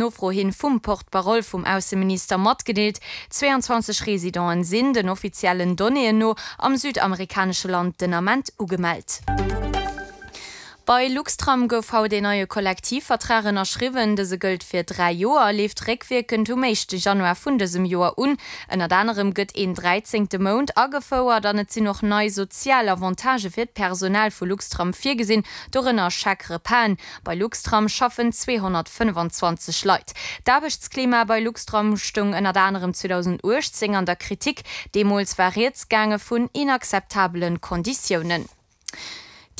Nofro hin vum Porte-parole vum Ausseminister matgedeelt. 22 Residenten sinn, den offiziellen Donnéeën no, am südamerikanesche Land den Ament ugemellt. Bei Luxtram gouf haut een neie Kollektivvertrag ënnerschriwwen. Dëse gëllt fir 3 Joer a leeft réckwierkend um éischte Januar vun dësem Joer un. Ënnert anerem gëtt een dräizéngte Mount agefouert an et sinn och nei sozial Avantagë fir d'Personal vu Luxtram virgesinn, dorënner Chèque-repasen. Bei Luxtram schaffen 225 Leit. D'Aarbechtsklima bei Luxtram stoung ënnert anerem 2018 an der Kritik. Deemools war rieds gaange vun inakzeptabele Konditiounen.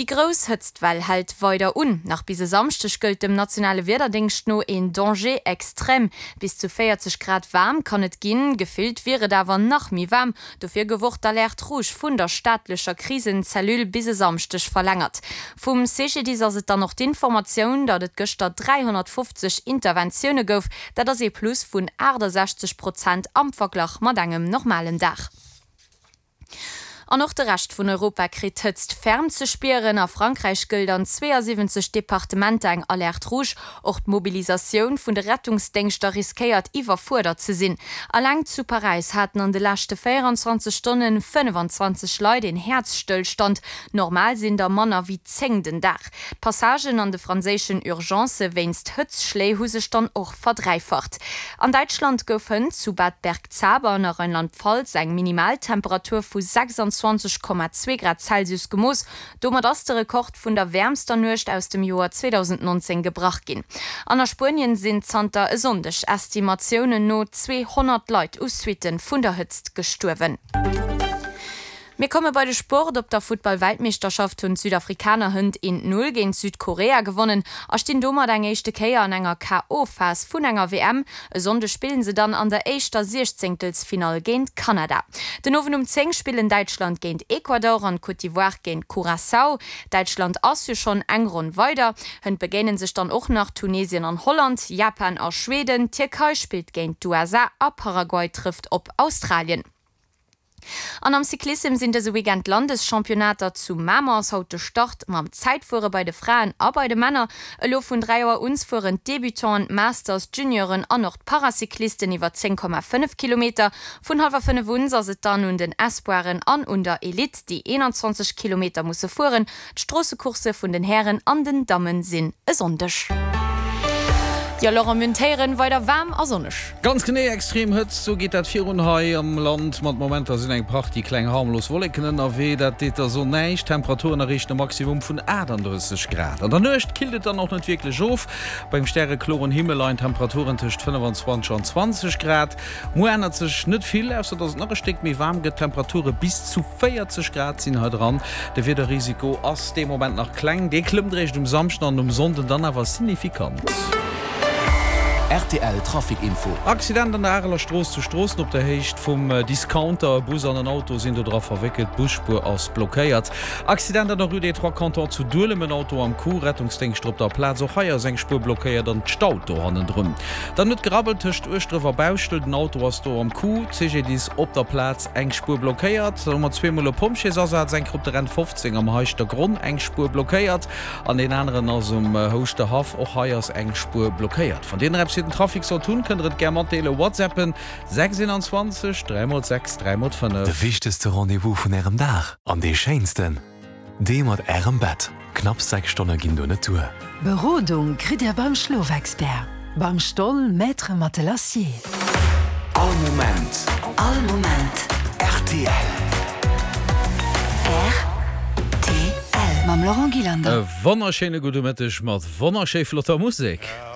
Déi grouss Hëtztwell hält weider un. Nach bis e Samschdeg gëllt dem nationale Wiederdéngscht no een Danger extrême. Bis zu 40 Grad waarm kann et ginn, gefillt wier et awer nach méi waarm. Dofir gouf och d'Alerte rouge vun der staatlecher Krisenzellule bis e Samschdeg verlängert. Vum CGDIS ass et dann och d'Informatioun, datt et gëschter 350 Interventioune gouf. Dat ass ee Plus vun 68 Prozent am Verglach mat engem normalen Dag. An och de Rescht vun Europa kritt d'Hëtzt ferm ze spieren. A Frankräich gëllt an 72 Departementer eng Alerte rouge. Och d'Mobilisatioun vun de Rettungsdéngschter riskéiert iwwerfuerdert ze sinn. Alleng zu Paräis haten an de leschte 24 Stonne 25 Leit een Häerzstëllstand. Normal sinn der manner wéi 10 den Dag. D'Passagen an de franséischen Urgencë wéinst Hëtzschléi hu sech dann och verdräifacht. An Däitschland gouf hënt zu Bad Bergzabern a Rheinland-Pfalz eng Minimaltemperatur vu 26,2 Grad Celsius gemooss. Domat ass de Rekord vun der wäermster Nuecht aus dem Joer 2019 gebrach ginn. An a Spuenien sinn zanter e Sonndeg Estimatiounen no 200 Leit u Suitte vun der Hëtzt gestuerwen. Mir komme bei de Sport. Op der Futtball-Weltmeeschterschaft hunn d'Südafrikaner hënt 1, 0 géint Südkorea gewonnen a stinn domat eng éischte Kéier an enger KO-Phas vun enger WM. E Sonndeg spillen se dann an der éischter Siechzéngtelsfinall géint Kanada. Den Owend um 10 spillen Däitschland géint Ecuador an d'Côte d'Ivoire géint Curaçao. Däitschland ass jo schonn eng Ronn weider. Hënt begéinen sech dann och nach Tunesien an Holland, Japan a Schweden, d'Tierkei spillt géint d'USA a Paraguay trëfft op Australien. An am Cyclissem sinn dëse Weekend d'Landeschampionnaater. Zu Mamer ass haut de Start mam Zäitfuere bei de Fraen a bei de Männer. Elo vun 3 Auer uns fueren d'Debutanten, d'Masters, d'Junioren an och d'Paracyclisten iwwer 10,5 Kilometer. Vun hallwer 5 uns ass et dann un den Espoiren an un der Elite, déi 21 Kilometer musse fueren. D'Stroossecoursse vun den Hären an den Damme sinn e Sonndeg. Jo Laurent, mir hunn d'Héieren, weider waarm a sonneg. Ganz genee, extrem Hëtzt, sou geet dat virun hei am Land. Mat Momenter sinn eng Partie kleng harmlos Wolleken ënnerwee, dat deet der Sonn näischt. D'Temperaturen erreechen e Maximum vun 38 Grad. An der Nuecht killt et dann och net wierklech of. Bei engem stärekloren Himmel leien d'Temperaturen tëscht 25 an 20 Grad. Muer ännert sech net vill, ausser dass et nach e Stéck méi waarm gëtt, Temperature bis zu 40 Grad sinn hei dran. De Wiederrisiko ass dee Moment nach kleng, dee klëmmt eréischt um Samschden an um Sonnden dann awer signifikant. Rtl Trafic Info. Accident an der Areler Strooss zu Stroossen op der Héicht vum Discounter. E Bus an en Auto sinn do dra verwéckelt, d'Busspuer ass blockéiert. Accident an der Rue des Trois Cantons zu Duelem, en Auto am Coup, Rettungsdéngschter op der Plaz. Och hei ass eng Spuer blockéiert an et staut do hannendrun. Dann huet gerabbelt tëscht Ueschdref a Bauschtel, den Auto ass do am Coup, CGDIS op der Plaz. Eng Spuer blockéiert. Dann hu mer zweemol e Pompjeesasaz, eng Kéier op der N 15 am Heischtergronn, eng Spuer blockéiert, an deen aneren ass um Houschterhaff, och hei ass eng Spuer blockéiert. Wann Dir nach eppes fir den Trafic sollt hunn, kënnt Der et gär matdeelen, WhatsAppen 6 21 3 x 6 3 x 5. De wichtegste Rendez-vous vun Ärem Dag an dee schéinsten. Dee mat Ärem Bett. Knapps 6 Stonne ginn do net duer. Berodung kritt Dir beim Schlofexpert, beim Stoll Maître Matelassier. All Moment. All Moment. Rtl. Rtl. Mam Laurent Gillander. E wonnerschéine gudde Mëtteg mat wonnerschéi flotter Musek.